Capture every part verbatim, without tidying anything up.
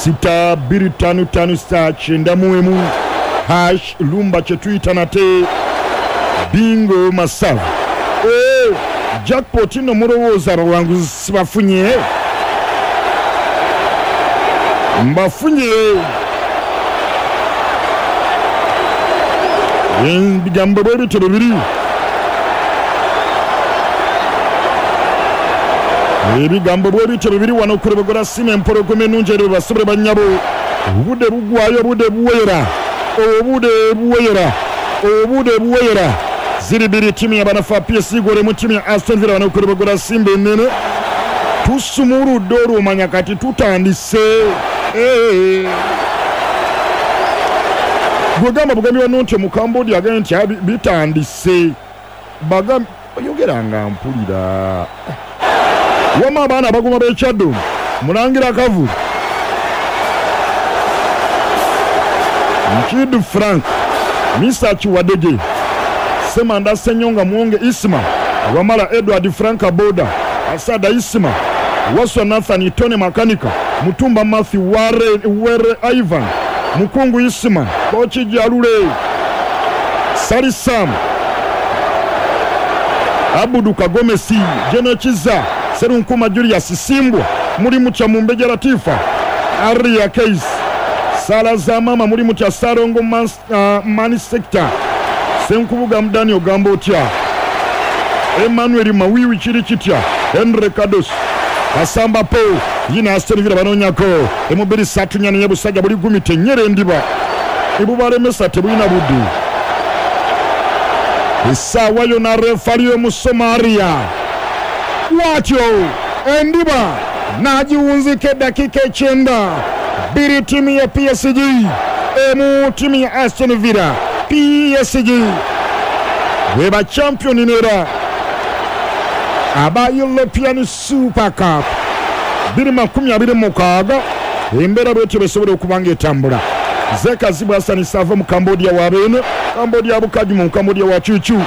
Sita bbiri ttaano ttaano star kyenda mu emu hash lumba kye tuyita nate bingo masavu. Oh, jackpot nno mulowooza abawanguzi sibafunye? Mbafunye. Ebigambo bwe bityo bwe biri. Ebigambo bwe bityo bibiri wano ku Lubogola Simba empologoma ennungi eri basobole bannyabo. Obudde bugwayo, obudde buwera, obudde buwera, obudde buwera. Ziri bbiri ttiimu y'abanafu P S G golemu ttiimu ya Aston Villa wano ku Lubogola Simba ennene. Tusumuludde olwomanya kati tutandise. Gwegamba bugambi wano nti Omukambodia agambye nti bitandise. Bagamba oyogera nga mpulira. Wama abaana abaguma b'ekyaddo Mulangira Kavu, Nkidu Frank, Misa Kiwadege, Semanda Senyonga Mwonge Isma, Wamala Edward Frank Aboda, Asada Isma, Waswa Nathan Tony Makanika, Mutumba Matthew Ware, Were Ivan, Mukungu Isma, Kochi Jalule, Sali Sam, Abudu Kagomesi, Jeno Chiza, Serunkuma Julius Simbwa, Mulimu cha Mumbeja Latifa, Aria Case, Sala za mama Mulimu cha Sarongo Man, uh, Mani Sector, Senkubuga Mdani Ogambotia, Emmanuel Mawiwi Chirichitia, Henry Kados, Kasamba Po, Yina Aston Villa banonyako, Emubiri Satunyani Yebusajja buli gumite nyere ndiba, Ibubalemesa tebulina buddu. Essaawa yonna refali y'Omusomalia watyo endiba n'agiwunzika eddakiika ekyenda. Bbiri ttiimu ya P S G emu ttiimu ya Aston Villa. P S G bwe ba champion nera aba European Super Cup bbiri makumi abiri mukaaga. Embeera bwetyo besobola okuba nga etambula. Zekazibu Hassan Sava mu Cambodia wa Beene, Cambodia Bukaju mu Cambodia wa Chuchu.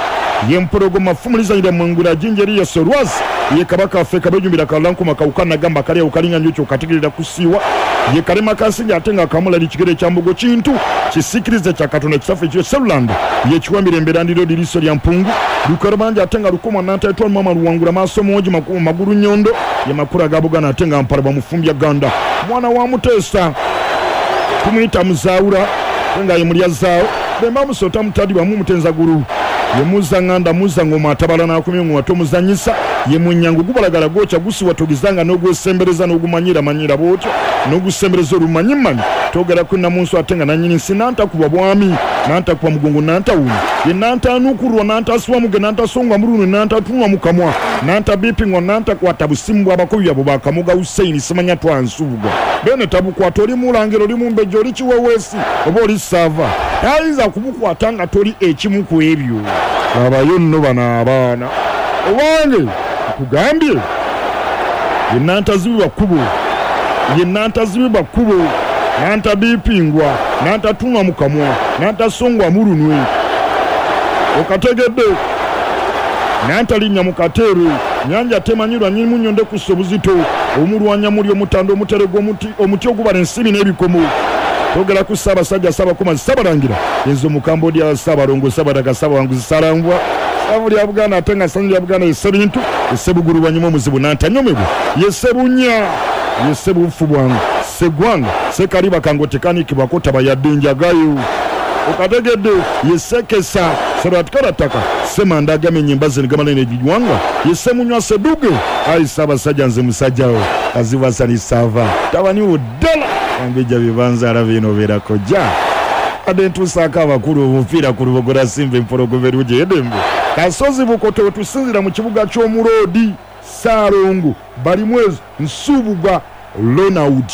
Ye mpologoma fumulizanyira mwengula jinjeri ye Solwazi ye kabaka waffe kabejumbira kalankuma kawukana gamba kali ukalinga njucho kategerera kusiiwa ye kalema kasinja ate nga kamula likigere kya mbugo kintu kisikirize kya Katonda kisaffe ekyo Seruland ye kiwambira emberandiro diriso lya mpungu lukarubanja ate nga lukoma nantaitwa mama luwangula maaso mogi magulu nnyondo ye makula ga Buganda ate nga mpalaba mufumbya ganda mwana wa Muteesa tumuyita Muzaawula nga ye mulya zaawo bemba musota mutadibwa mu mutenzagulu ye muzanganda muzangoma atabala n'akomye ngoma tomuzanyisa ye munyango gubalagala gocha gusiwa togizanga n'ogwesembereza n'ogumanyira manyira bwotyo n'ogusembereza olumanyimanyi togera ku namunsu atenga nanyini nsi nantakuba bwami nantakuba mugongo nantawuni ye nantanukulwa nantaswa muge nantasongwa mulunu nantatunwa mukamwa nantabipingwa nantakwata busimu bw'abakobi abo bakamuga Hussein simanya twansubwa bene tabukwata oli mulangiro oli mumbejja oli kiweweesi oba oli sava tayinza kubukwata nga toli ekimu ku ebyo. Abayo nno bano abaana owange nkugambye ye nantazibibwa kkubo ye nantazibibwa kkubo nantabipingwa nantatunwa mukamwa nantasongwa mulunwe okategedde nantalinnya mu kateero nyanja temanyirwa nyinimu nnyo ndekussa obuzito omulwanya muli omutanda omuterego omuti omuti ogubala ensimbi n'ebikomo togera ku Ssaabasajja Ssaabakomazi Ssaabalangira enzo mu Cambodia Ssaabalongo Ssaabadaga Ssaabawanguzi Ssalambwa Ssavu lya Buganda ate nga ssanyu lya Buganda ye Ssebintu ye Ssebugulubanyuma omuzibu nantanyomebwa ye Ssebunya ye Ssebufu bwangu Sseggwanga Ssekaliba kango tekanikibwako taba yadde njagayo okategedde ye Ssekesa Sserwatikalataka Ssemanda agamenya embazzi ne giwanga ye Ssemunywa Sseduge ayi Ssaabasajja nze musajjawo Kazibu Hassan Sava tabaniwo ddala ambejja bibanza bino obeerako jja adde ntuusaako abakulu omupiira ku Lubogola Simba empologoma erungi edembe Kasozi Bukoto wetusinzira mu kibuga ky'Omuloodi Ssaalongo Balimwezo Nsubuga Ronald.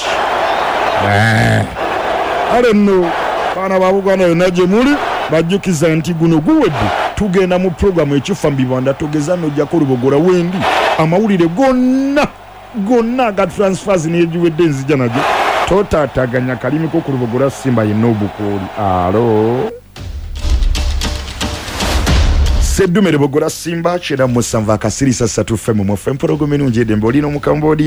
Kale nno baana ba Buganda yonna gye muli bajjukiza nti guno guwedde tugenda mu puroguramu ekifa mu bibanda togeza n'ojjako Lubogola wendi amawulire gonna gonna aga transfers n'egiwedde nzija nagyo totaataganya kalimi ko ku Lubogola Simba yenna obukooli. Alo Seddume Lubogola Simba kyenda musanvu akasirisa ssatu F M mu F M empologoma ennungi edembe oli n'Omukambodia.